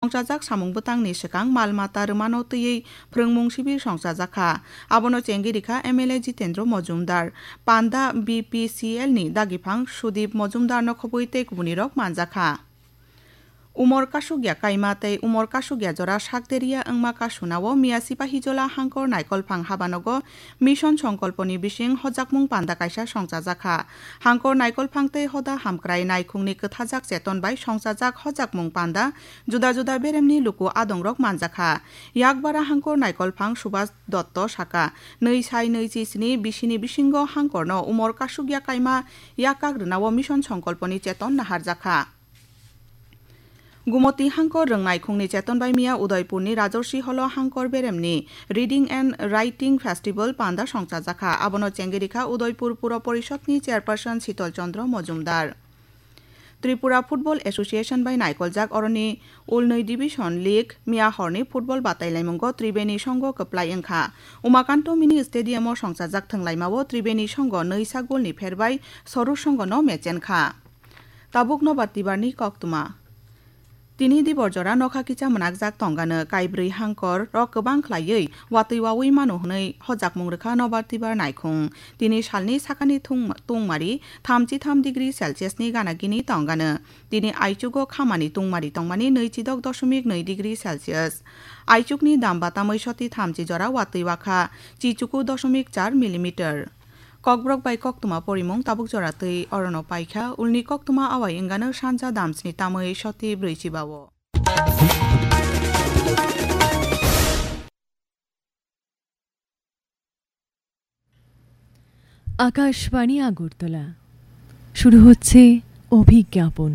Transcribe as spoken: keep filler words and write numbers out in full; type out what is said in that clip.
Songchajak samung bwtangni swkang mal mata rwmano twiwi phrwngmung sibir songchajak kha. Abono chengwi rikha M L A Jitendra Mojumdar. Panda B P C L ni dagiphang Sudip Mojumdarno khobwi tei kubunirok manjak kha. Umor kasukya kaima tei umor kasukya jora sakderia wngma kasunao miya Sipahijola Hangkor Naikolphang habanogo Mission Songkolponi bising hojakmung panda kaisa songchajak kha. Hangkor Naikolphang tei hoda hamkrai naikhungni kwthajak cheton bai songchajak hojakmung panda juda juda beremni luku adongrok manjakha. Yakbara Hangkor Naikolphang Subhas Dotto saka, nwi sai nwi chi sni bisini bisingo Hangkorno umor kasukya kaima yakak rwnao Mission Songkolponi cheton naharjakha. Gumoti Hangkor rwngnai khungni cheton bai miya Udaipurni Rajorsi Holo Hangkor beremni Reading and Writing Festival panda songchajakha. Abono chengwi rikha Udaipur Puro Porishodni Chairperson Sital Chandra Mojumdar. Tripura Football Association bai naikoljak oroni Ulnwi Division League miya horni football batailaimungo Tribeni Songho kwplai wngkha. Umakanto Mini Stadium o songchajak thwnglaimao Tribeni Songho nwi sa golni pherbai Soru Songho no mechenkha. Tabuk Nobar Tibarni koktwma. Tini dibor jora nokha kicha mwnakjak tongano, kaibrwi hangkor rok kwbang khlaiwi watwi wawi mano hwnwi hojakmung rwkha Nobar Tibar naikhung. Tini salni sakani thung-, tungmari thamchi tham degree Celsius ni gana gini tongano. Tini aichugo khamani tungmari tongmani nwi chidok dosomik nwi degree Celsius. Aichukni dam batamwi soti thamchi jora watwi wakha chichuku dosomik char millimeter. Kokborok bai koktwma porimung tabuk jora twi orono paikha, ulni koktwma awai wngano sanja damsni tamwi soti brwi chibao. Akashvani আগরতলা। শুরু হচ্ছে অভিজ্ঞাপন।